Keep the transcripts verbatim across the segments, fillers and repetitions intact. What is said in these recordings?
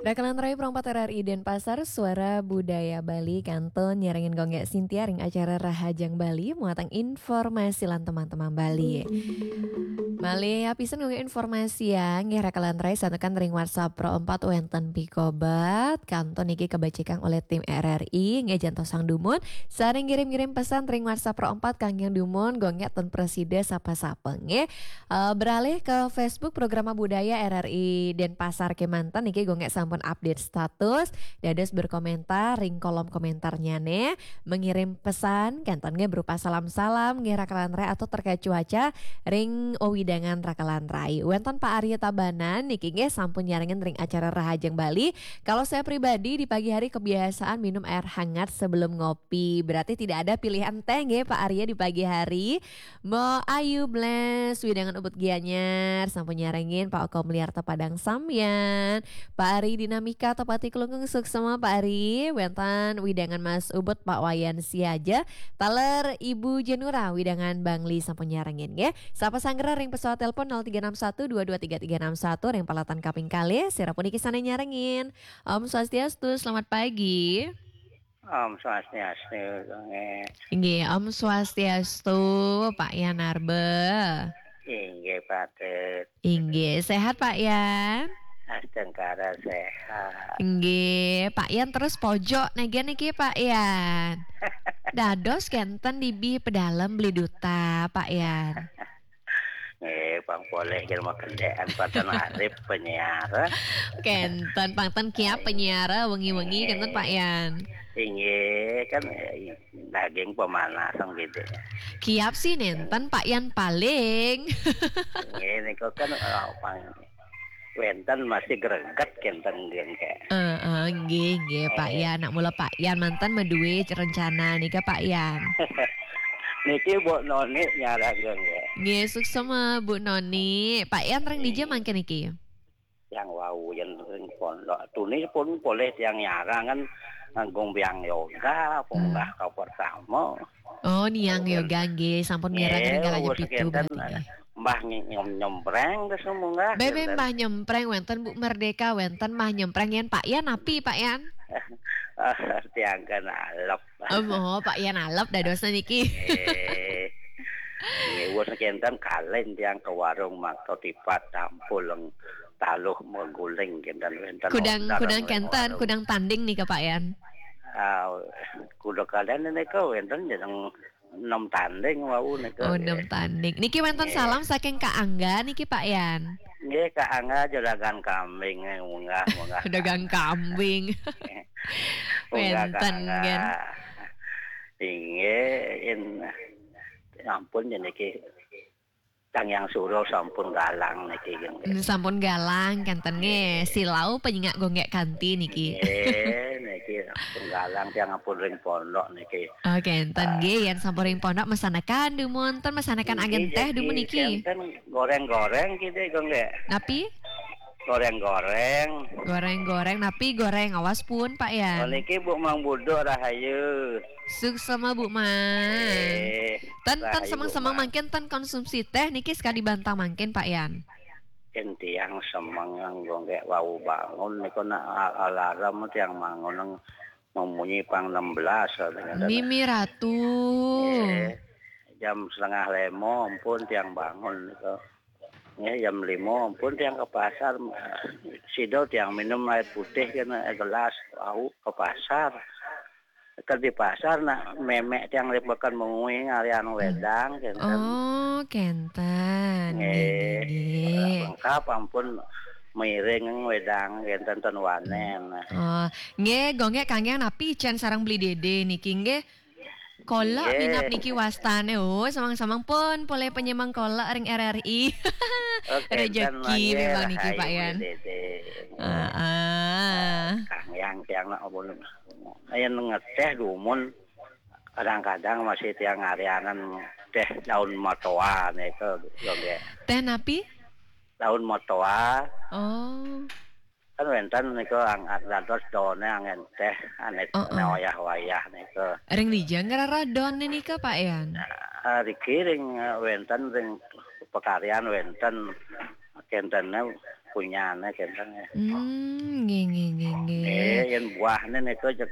Rakalan Rai Pro empat R R I Denpasar, Suara Budaya Bali, kantun nyarengin Gung Gek Sintia ring acara Rahajeng Bali, muatan informasi lan teman-teman Bali. Malih apisan Gung Gek informasiang, nggih Rakalan Rai, santukan ring WhatsApp Pro empat wenten pikobet, kantun niki kabacikang olih tim R R I, nggih jantosang dumun, sareng ngirim-ngirim pesan ring WhatsApp Pro empat kangge dumun, Gung Gek ten prasida sapa-sapa, nggih. Eh, beralih ke Facebook Programa Budaya R R I Denpasar kemanten niki Gung Gek sampun update status, dados berkomentar ring kolom komentarnya nih, mengirim pesan, kenten nggih berupa salam-salam, nggih Rakalan Rai atau terkait cuaca ring wewidangan Rakalan Rai. Wenten Pak Arya Tabanan niki nggih sampun nyarengin ring acara Rahajeng Bali. Kalau saya pribadi di pagi hari kebiasaan minum air hangat sebelum ngopi. Berarti tidak ada pilihan teh nggih Pak Arya di pagi hari. Mbok Ayu Bless, wewidangan Ubud Gianyar, sampun nyarengin Pak Oko Meliarta Padang Sambian, Pak Ari Dinamika Tepati Klungkung, suksma Pak Ari, wenten wewidangan Mas Ubud Pak Wayan Siaja, taler Ibu Jenura wewidangan Bangli sampun nyarengin nggih. Sapa sanggra ring pesawat telepon nol tiga enam satu dua dua tiga tiga enam satu ring peralatan kaping kalih, sira puniki sane nyarengin. Om Swastiastu, selamat pagi. Om Swastiastu, Gung Gek. Inggih, Om Swastiastu, Pak Yan Arba. Inggih, patut. Inggih, sehat Pak Yan? Astungkara sehat. Inggih, Pak Yan terus pojok negen niki Pak Yan. Dados kenten dibih pedalem beli duta, Pak Yan. Eh, pang poleh jelema kendean patan arep penyiar. Kenten pang ten kiap penyiar wengi-wengi kenten Pak Yan. Inggih, kan, eh, daging pemanasan gitu. Kiap sih nenten Pak Yan paling. Inggih, niku kan, eh, pang wenten masih greget kenten nggih, Kak. Heeh, nggih, nggih, Pak Yan. Nak mula Pak Yan manten madue rencana nika, Pak Yan. Niki Bu Noni nyarengin nggih. Nggih, suksma Bu Noni. Pak Yan ring dija mangkin niki? Yang wau yen ring pondok. Tuni pun poleh tiang nyarang kan nganggung biang yoga, munggah ka pertama. Oh, niang yoga nggih, sampun mireng ring kalaja pitu berarti nggih. Mbah nyem-, nyempreng terus munggah. Bebe Mbah nyempreng wenten Bu Merdeka, wenten Mbah nyempreng yen Pak Yan napi Pak Yan? Tiang kan alep. Oh, Pak Yan alep dadosna niki. Eh. Nggih, wus kenten kalen tiang ke warung mangko tipat tampul leng taluh mengguling kenten wenten. Kudang, kudang kenten, kudang tanding nika Pak Yan. Ah, kuda kalen nika wenten jeneng enam tanding wau nika. Oh, enam tanding. Niki wenten salam saking Kak Angga niki Pak Yan. Nggih, Kak Angga juragan kambing, eh, munggah, munggah. Dagang kambing. Munggah, Kak Angga. Inggih, in-, ampun yen niki Kang Yang Suro sampun galang niki, nggih. Hmm, sampun galang kenten nggih. Silau penyengak gonggek kanti niki. Nggih, niki sampun galang tiang ampun ring pondok niki. Oh, kenten nggih, yen sampun ring pondok mesanekan dumun, ten mesanekan agen teh dumun niki. Kenten goreng-goreng gitu, gonggek. Napi? Goreng-goreng. Goreng-goreng, napi goreng? Awas pun, Pak Yan. Oh, niki Bu Mang Buduk rahayu. Suksma Bu Mang. Eh, ten, ten rahayu, semeng-semeng Bu Mang. Mangkin ten konsumsi teh niki sekadi bantang mangkin Pak Yan. Yen tiang semeng nganggo nggih wau bangun niku nak al-, alarm tiang bangun nang memunyi pang enam belas, katanya. Mimi Ratu. Eh, jam setengah lima ampun tiang bangun niku. Nggih, jam lima ampun tiang ke pasar. Sida tiang minum air putih kena gelas, wau ke pasar. Ke di pasar nak memek tiang lipekan mengui ngarian wedang kenten. Oh, kenten. Nggih, nggih, nggih. Lengkap ampun miring wedang kenten ten wanen. Oh, nggih, gonggek kanggeng napi icen sareng beli dede niki nggih. Kolak minap niki wastane. Oh, samang-samang pun poleh penyemang kolak ring R R I. Oh, kenten. Rezeki mangke memang niki, rahayu Pak Yan. Beli dede. Heeh. Kanggeng tiang nak ampun. Ayen ngeteh dumun kadang-kadang masih tiang ngarianan teh daun matoa niku, yo nggih. Teh napi? Daun matoa. Oh. Kan wenten niku ang-, dados daune angen teh, ane, oh, oh, wayah-wayah niku. Ring dija ngrereh daune nika, Pak Yan? Ah, riki ring, eh, wenten ring pakaryan wenten kentene Kunyahné kénten ya. Hmm, nggih, nggih, nggih, nggih. Eh, yén buahné nika jeg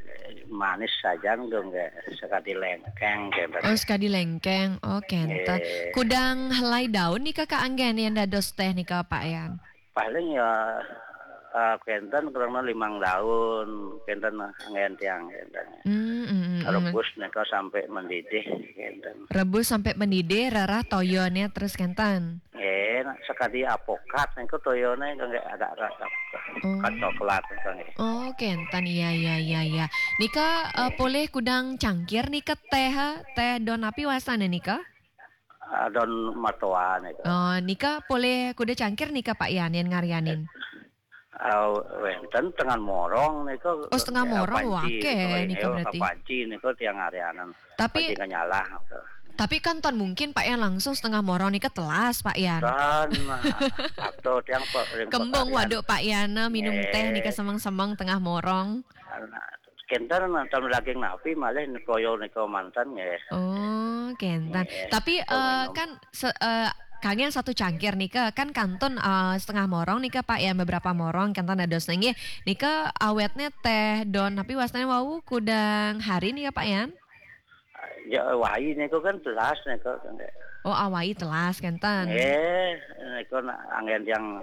manis sajan, nggih, nggih. Sekadi léngkéng kénten. Oh, sekadi léngkéng. Oh, kénten. Nggih. Kudang helai daun nika kaanggén yén dados téh nika, Pak Yan? Paling ya, eh, kénten kurang limang daun, kénten anggén tiang kénten. Hmm, hmm, hmm, hmm. Rebus nika sampai mendidih kénten. Rebus sampai mendidih, rerah toyané terus kénten. Eh, nak sekadi apokat niku toyané nggih ada rasa Oh. Coklat niku nggih. Oh, kénten. Iya, iya, iya, iya. Nika, eh, polih kudang cangkir nika téh, eh, téh don api wastané nika? Ah, don matoa niku. Oh, nika polih kuda cangkir nika, Pak Yan, yén ngaryanin? Ah, wénten tengah morong niku. Oh, setengah morong, wah, akeh nika berarti. Kapanci niku tiang ngaryanin. Tapi, tapi kan ton mungkin Pak Yan langsung setengah morong nika telas, Pak Yan. Kan, atau tiang pe-, ring kembung pekarian. Waduk Pak Yan, eh, minum téh nika semeng-semeng tengah morong. Nah, kénten nonton daging napi malih toya nika manten nggih. Oh, kénten. Nggih. Tapi, eh, kan se-, eh, kanggén satu cangkir nika kan kantun, eh, setengah morong nika, Pak Yan, beberapa morong kénten dados nggih. Nika awetné téh don napi wastané wau kudang hari nika, Pak Yan? Ya, wai niku kan telas niku. Oh, awai telas kénten. Nggih, niku nak anggén tiang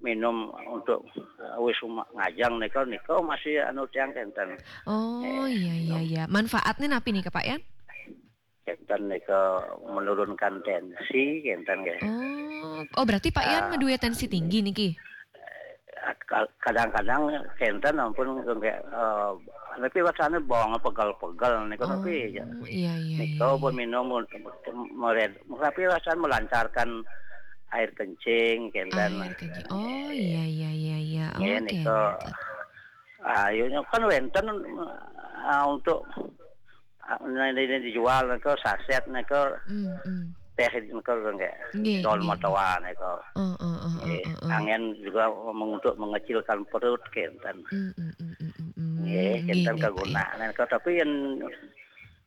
minum untuk, eh, wis uma-, ngajeng niku, niku masih anu tiang kénten. Oh, iya, iya, iya. Manfaatné napi nika, Pak Yan? Kénten niku menurunkan tensi kénten nggih. Oh, oh, berarti Pak Yan madué tensi tinggi niki? Ka-, kadang-kadang kénten ampun nggih, eh, tapi rasanya bawang pegel-pegel niku tapi ya. Oh, iya, iya, iya. Niku pun minum untuk mered-, tapi rasanya melancarkan air kencing kénten. Air kencing. Oh, iya, iya, iya, iya. Nggih, oke, niku. Ayo kan wénten, ah, untuk, ah, ini dijual niku saset niku. Hmm, hmm. Téh niku nggih. Nggih, don matoa niku. Oh, oh, oh, oh, nggih, oh, oh. Anggén juga meng-, untuk mengecilkan perut kénten. Hmm, hmm, hmm, hmm, hmm, hmm. Nggih, kénten, nggih, Pak, ya. Kagunaan niku, tapi yén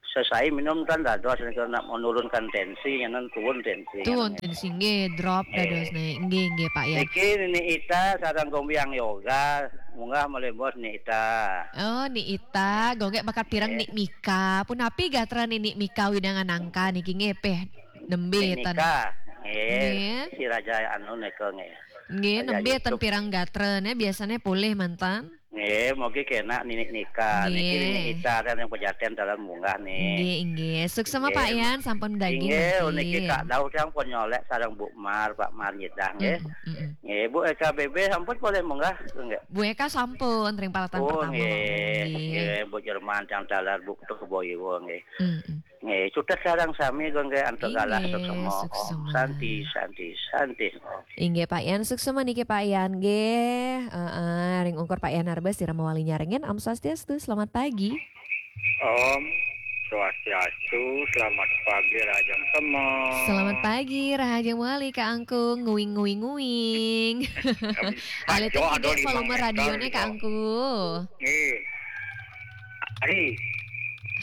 sesai minum kan dados niku nak menurunkan tensi, yen tuun tensi. Tuun tensi, nggih, drop dadosne. Nggih, nggih, Pak Yan. Niki Nini Ita sareng Gombiang Yoga, munggah malih bos Nini Ita. Oh, Nini Ita, gonggek bakat pireng Nini Mika. Punapi gatra Nini Mika widangan angka niki nggih peh nembe ten. Nini Mika, nggih. Nggih. Si Raja anu nika nggih. Nggih, nembe ten pireng gatrane biasane polih mantan. Nggih, mugi kenak Nini Nika. Nggih. Niki Nini Ita kan yang pejaten dalam munggah nih. Nggih, nggih. Suksema Pak Yan, sampun daging nggih, niki. Niki Kak Daud yang pun nyolek sareng Bu Mar, Pak Mar nyedah nggih. Mm, mm, mm. Nggih, Bu Eka B B sampun boleh munggah nggih. Bu Eka sampun ring palatan pertama. Oh, nggih. Nggih. Nggih, Bu Jerman yang dalar Bu Tuh Boyo nggih. Mm, mm. Nggih, sudah sareng sami nggih antuk galah suksema. Inggih, suksema. Om Santi, Santi, Santi. Om. Inggih, Pak Yan, suksema niki Pak Yan nggih. Heeh, ring ungkur Pak Yan Arbes sira mawali nyarengin. Om Swastiastu, selamat pagi. Om Swastiastu, selamat pagi Rahajeng Semeng. Selamat pagi Rahajeng Wali Kak Angkung, nguing nguing nguing. Alih tuh volume radione Kak Angkung. Nggih. Ari.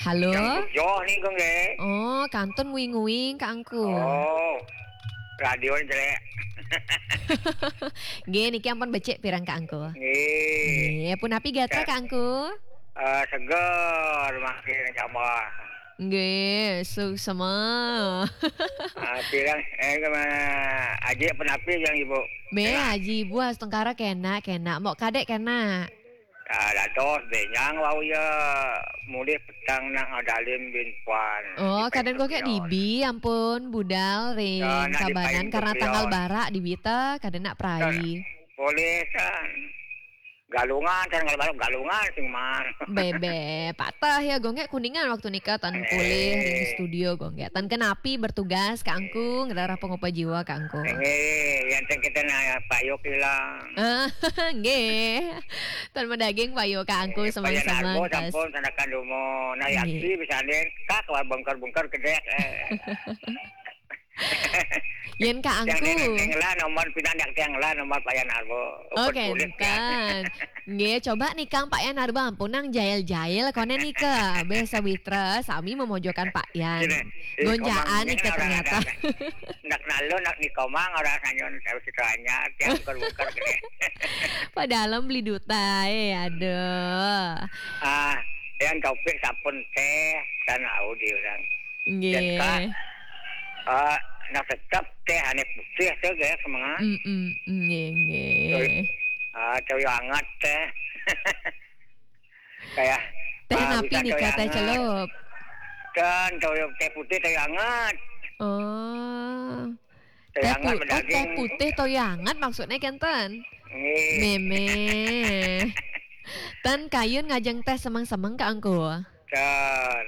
Halo. Yang Joh nih, Kang, nggih. Oh, kantun nguing-nguing, Kak Angku. Oh. Radio jelek. Nggih, niki ampun becik pirang, Kak Angku. Nggih. Nggih, punapi gatra, Kak Angku? Eh, seger, makin tambah. Nggih, suksema. Ah, pirang, eh, kemana? Aji punapi yang Ibu? Be, Aji Ibu astungkara kenak, kenak. Mok kadek kenak. Ah, dados benyang wau ya mulih petang nak ngadalin bin puan. Oh, kadén kok kayak dibi, ampun, budal ring Sabanan karena tanggal barak dibi ta, kadén nak prai. Boleh kan. Galungan kan kalau baru galungan sing man. Bebe, patah ya gonggek Kuningan waktu nika tan polih ring studio gonggek. Tan kenapi bertugas Kak Angku, ngerarah pengopa jiwa Kak Angku. Nggih, yang ten kita nak payuk hilang. Ah, nggih. Tan medaging payu Kak Angku semang-semang. Sampun sanakan dumo. Nah, yaki bisa nih, kak, wah bengkar-bengkar gedek. Eh. Yén Kak Angku. Tiang lah nomor pinandak tiang lah nomor Pak Yan Arbo. Oh, kénten. Nggih, coba nika Pak Yan Arbo ampun nang jail-jail koné nika. Béh sawitra sami memojokan Pak Yan. Gonjaan nika ternyata. Nak nalu nak nikomang orang sanyun saya situ anyar tiang buker-buker gini. Padahal beli duta, eh, aduh. Ah, yang Taufik sampun téh kan au di orang. Nggih. Dan Kak, ah, nak tetap téh ané putih téh gaya semangat. Mm, mm, nggih, nggih. Ah, cewek hangat téh. Kayak téh napi nih kata celup? Kan toyo téh putih toyo hangat. Oh. Téh hangat pu- oh, téh putih toyo hangat maksudnya kenten. Nggih. Mémé. Ten kayun ngajeng téh semeng-semeng Kak Angku. Kan.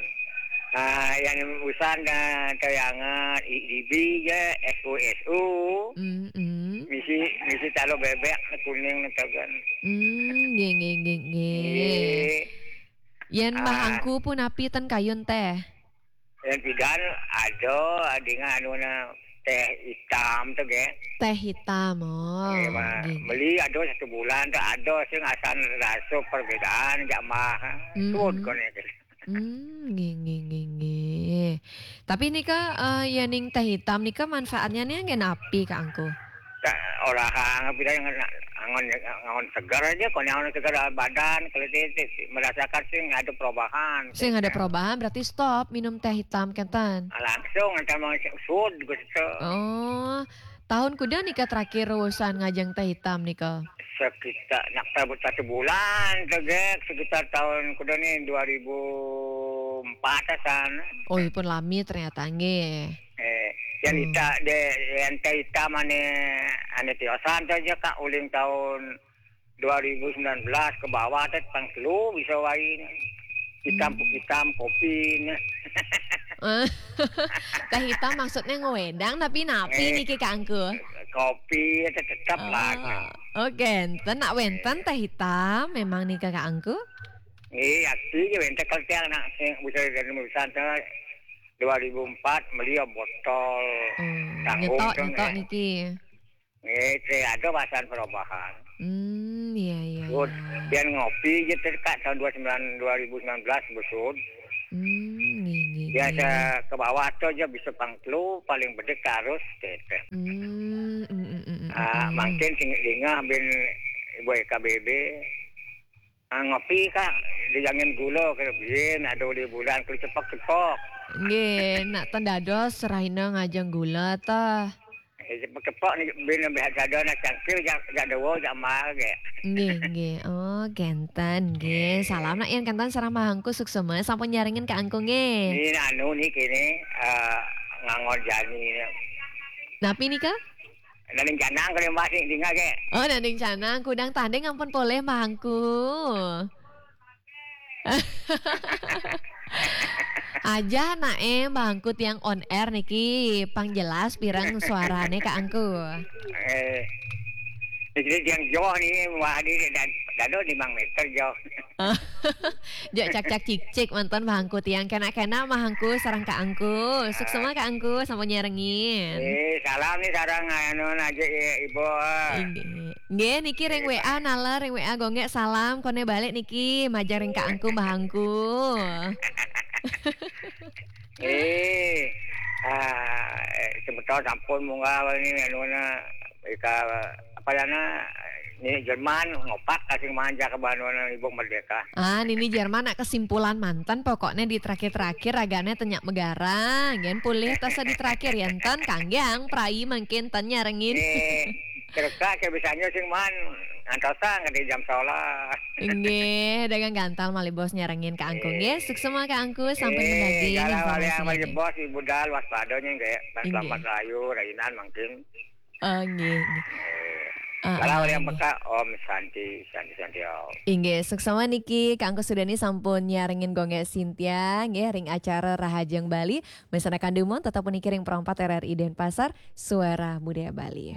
Ah, yang usan dan toyo hangat, I D B ya, S U S U. Mm, mm. Misi misi talo bebek kuning netagan. Hmm, nggih, nggih, nggih, nggih. Nggih. Yén Mbah Angku pun napi ten kayun téh? Yén pidan ada, adinga anu na téh hitam tuh, gé. Téh hitam, oh. Nggih, Mbah. Nggih, nggih. Beli ada satu bulan tuh ada sing asan rasa perbedaan jak mah. Hmm. Tuh koné. Hmm, nggih, nggih, nggih, nggih. Tapi nika, eh, yén ning téh hitam nika manfaatnya nih nggih napi Kak Angku? Ka-, orang pida yang angon, angon segar aja, kalau yang segar badan, kalau ti-, ti-, merasakan sing ada perubahan. Sing ada perubahan berarti stop minum téh hitam kenten. Langsung antar mau sud gitu. Oh, tahun kuda nika terakhir usan ngajeng téh hitam nika? Sekitar nak satu bulan tegak sekitar tahun kuda nih dua ribu empat asan. Oh, ipun lami ternyata nggih. Eh, yang ita de yang téh hitam ane ane tiosan tuh aja Kak uling tahun dua ribu sembilan belas ke bawah tuh pang telu bisa wain. Hitam hitam kopi nya. Eh, téh hitam maksudnya ngewedang tapi napi niki Kak Angku? Kopi itu tetap lah. Oh, oke, enten nak wenten téh hitam memang nika Kak Angku? Iya, sih, wenten kalau tiang nak sing bisa dari urusan tuh dua ribu empat beli botol. Hmm, tanggung nyetok, tuh, nyetok nggih. Niki. Nggih, saya ada pasan perubahan. Hmm, iya, iya, iya. Biar ngopi aja tuh, Kak, tahun dua sembilan, dua ribu sembilan belas besut. Hmm, nggih, nggih, biasa nggih. Ke bawah tuh aja bisa pang telu, paling bedek harus téh. Hmm, mm, mm, mm, mm, ah, mm. Mungkin sing dingah bin Ibu E K B B. Ah, ngopi, Kak. Dijangin gula ke biyen ada di bulan ke cepok-cepok. Nggih, nak ten dados rahina ngajeng gula tah. Eh, cepok-cepok nih bin lebih ada nak cangkir jak jak dawa jak mar ge. Nggih, nggih. Oh, kenten nggih. Salam nak yen kenten sareng Mahangku suksema sampun nyarengin Kak Angku nggih. Ini anu nih kene eh ngangon jani. Napi nika? Nanding canang kene Mbak sing tinggal ge. Oh, nanding canang kudang tanding ampun polih Mahangku. Aja nae Mahangku tiang on air niki pang jelas pirang suarane Kak Angku. Eh. Jadi tiang jauh nih, wah ini dan dado lima meter jauh. Jok cak-cak cik-cik mantan Mahangku tiang kena-kena Mahangku sareng Kak Angku. Suksema Kak Angku sampun nyarengin. Eh, salam nih sareng anu aja ya Ibu. Inggih. Nggih niki ring W A naler ring W A Gonggek salam kone balik niki majeng ring Kak Angku Mahangku. Eh, ah, eh, sebetul sampun munggah ini anu na ika apa ya na ini Jerman ngopak kasih manja ke Bandung Ibu Merdeka. Ah, nini Jerman nak kesimpulan mantan pokoknya di terakhir-terakhir ragane tenyak megara, gen pulih tasa di terakhir ya enten kangge ang prai mangkin ten nyarengin. Eh, kira-kira kayak bisanya sing man antosan ke di jam sekolah. Nggih, dagang gantal malih bos nyarengin Kak Angku nggih. Suksema Kak Angku sampun mendaging informasinya. Bos Ibu Dal waspadanya nggih. Selamat rayu rainan mangkin. Oh, nggih. Kalau yang peka Om Santi, Santi, Santi Om. Inggih, suksema niki Kak Angku Sudani sampun nyarengin Gonggek Sintia nggih ring acara Rahajeng Bali. Mesana kandumon tetap puniki ring perempat R R I Denpasar, Suara Budaya Bali.